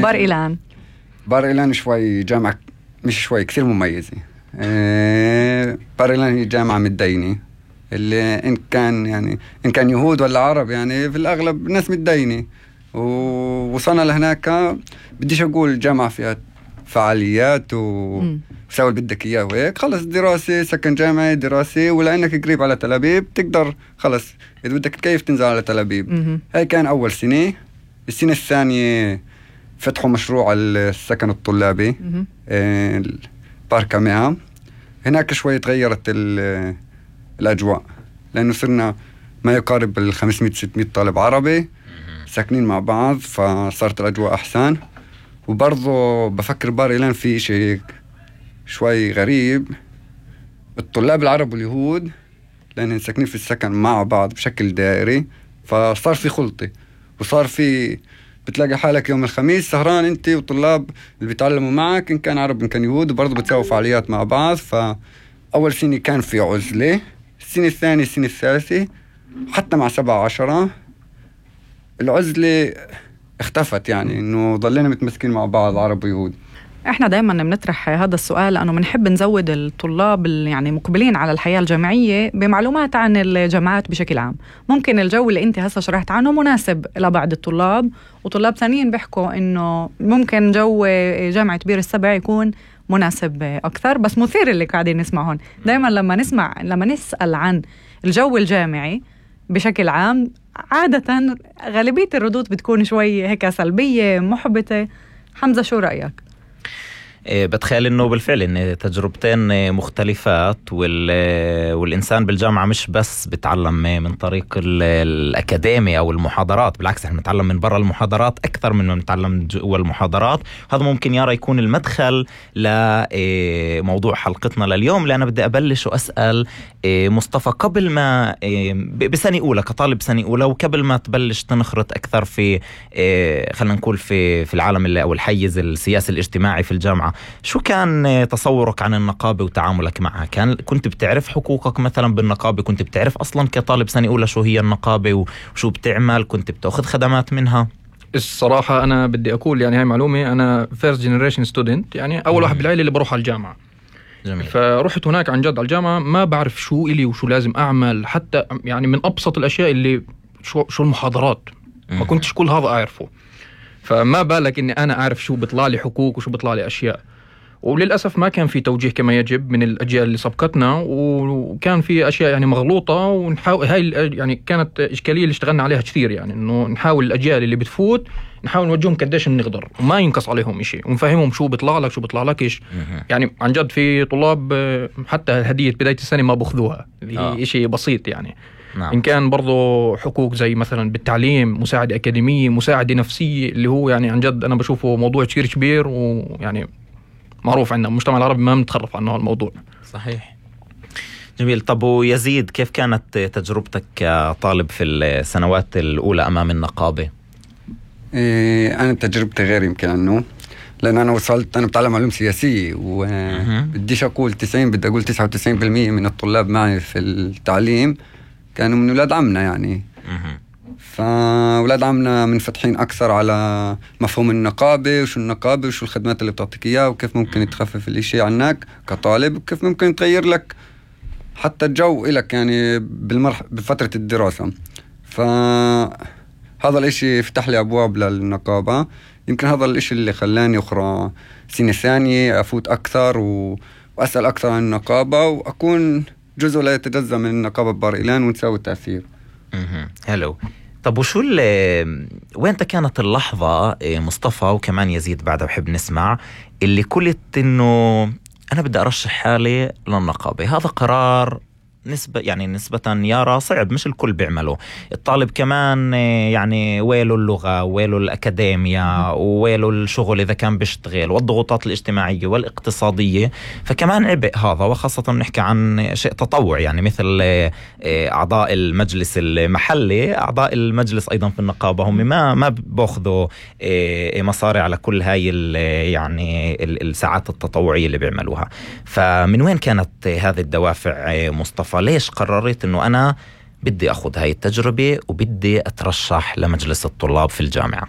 بار إيلان. بار إيلان شوي جامعة، مش شوي، كثير مميزة. بار إيلان هي جامعة متدينة، اللي إن كان يهود ولا عرب يعني في الأغلب ناس متدينة. ووصلنا لهناك، بديش أقول جامعة فيها فعاليات وسوي اللي بدك إياه وهيك، خلص دراسة، سكن جامعي، دراسة، ولأنك قريب على تل أبيب تقدر خلص إذا بدك تكيف تنزل على تل أبيب. هاي كان أول سنة. السنة الثانية فتحوا مشروع السكن الطلابي، باركاميا. هناك شوي تغيرت الأجواء، لأنه صرنا ما يقارب 500-600 طالب عربي ساكنين مع بعض، فصارت الأجواء أحسن. وبرضو بفكر بار إيلان في شيء شوي غريب، الطلاب العرب واليهود لأنهم ساكنين في السكن مع بعض بشكل دائري، فصار في خلطة، وصار في بتلاقي حالك يوم الخميس سهران انت وطلاب اللي بيتعلموا معك، إن كان عرب إن كان يهود، وبرضو بتساوي فعاليات مع بعض. فأول سنة كان في عزلة، السنة الثانية السنة الثالثة حتى مع 7-10 العزلة اختفت، يعني إنه ضلينا متمسكين مع بعض عرب ويهود. احنا دايما بنطرح هذا السؤال لأنه بنحب نزود الطلاب يعني مقبلين على الحياة الجامعية بمعلومات عن الجامعات بشكل عام. ممكن الجو اللي انت هسه شرحت عنه مناسب لبعض الطلاب، وطلاب ثانيين بيحكوا انه ممكن جو جامعة بير السبع يكون مناسب اكثر. بس مثير اللي قاعدين نسمعهم دايما لما نسأل عن الجو الجامعي بشكل عام، عادة غالبية الردود بتكون شوي هيك سلبية محبطة. حمزة شو رأيك؟ بتخيل انه بالفعل ان تجربتين مختلفات، والانسان بالجامعه مش بس بتعلم من طريق الاكاديمي او المحاضرات، بالعكس احنا بنتعلم من برا المحاضرات اكثر من ما بنتعلم جوا المحاضرات. هذا ممكن يكون المدخل لموضوع حلقتنا لليوم، لأنا بدي ابلش واسال مصطفى قبل ما بسنه اولى كطالب سنه اولى، وقبل ما تبلش تنخرط اكثر في خلينا نقول في العالم او الحيز السياسي الاجتماعي في الجامعه، شو كان تصورك عن النقابة وتعاملك معها؟ كنت بتعرف حقوقك مثلا بالنقابة؟ كنت بتعرف أصلا كطالب سنة أولى شو هي النقابة وشو بتعمل؟ كنت بتأخذ خدمات منها؟ الصراحة أنا بدي أقول يعني هاي معلومة، أنا first generation student، يعني أول واحد بالعائلة اللي بروح على الجامعة. جميل. فرحت هناك عن جد على الجامعة ما بعرف شو إلي وشو لازم أعمل، حتى يعني من أبسط الأشياء اللي شو المحاضرات ما كنتش كل هذا أعرفه. فما بالك إني أنا أعرف شو بيطلع لي حقوق وشو بيطلع لي أشياء. وللأسف ما كان في توجيه كما يجب من الأجيال اللي سبقتنا، وكان في أشياء يعني مغلوطة، ونحاول هاي يعني كانت إشكالية اللي اشتغلنا عليها كثير، يعني إنه نحاول الأجيال اللي بتفوت نحاول نوجههم قديش نقدر وما ينقص عليهم إشي، ونفهمهم شو بيطلع لك شو بيطلع لكش. يعني عن جد في طلاب حتى هدية بداية السنة ما بأخذوها، اللي هي إشي بسيط يعني. نعم. إن كان برضو حقوق زي مثلا بالتعليم، مساعدة أكاديمية، مساعدة نفسية، اللي هو يعني عن جد أنا بشوفه موضوع كثير كبير، ويعني معروف عندنا المجتمع العربي ما متخرف عنه الموضوع. صحيح. جميل. طب ويزيد، كيف كانت تجربتك كطالب في السنوات الأولى أمام النقابة؟ أنا تجربتي غير يمكن عنه، لأن أنا بتعلم علوم سياسية، وبديش أقول 90، بدي أقول 99% من الطلاب معي في التعليم كانوا من أولاد عمنا يعني. فأولاد عمنا منفتحين أكثر على مفهوم النقابة، وشو النقابة وشو الخدمات اللي بتعطيك إياها، وكيف ممكن تخفف الإشي عنك كطالب، وكيف ممكن تغير لك حتى الجو إلك يعني بفترة الدراسة. فهذا الإشي فتح لي أبواب للنقابة. يمكن هذا الإشي اللي خلاني أخرى سنة ثانية أفوت أكثر وأسأل أكثر عن النقابة، وأكون جزء لا يتجزأ من النقابة ببار إيلان، ونساوي تأثير. هلو. طب وشو وين كانت اللحظة مصطفى وكمان يزيد بعدها بحب نسمع اللي قلت إنه أنا بدي أرشح حالي للنقابة؟ هذا قرار نسبة يارا صعب، مش الكل بيعمله. الطالب كمان يعني ويله اللغة، ويله الأكاديمية، ويله الشغل إذا كان بيشتغل، والضغوطات الاجتماعية والاقتصادية، فكمان عبء هذا. وخاصة نحكي عن شيء تطوع، يعني مثل أعضاء المجلس المحلي، أعضاء المجلس أيضا في النقابة هم ما بأخذوا مصاري على كل هاي يعني الساعات التطوعية اللي بيعملوها. فمن وين كانت هذه الدوافع مصطفى؟ ليش قررت إنه أنا بدي أخذ هاي التجربة وبدي أترشح لمجلس الطلاب في الجامعة؟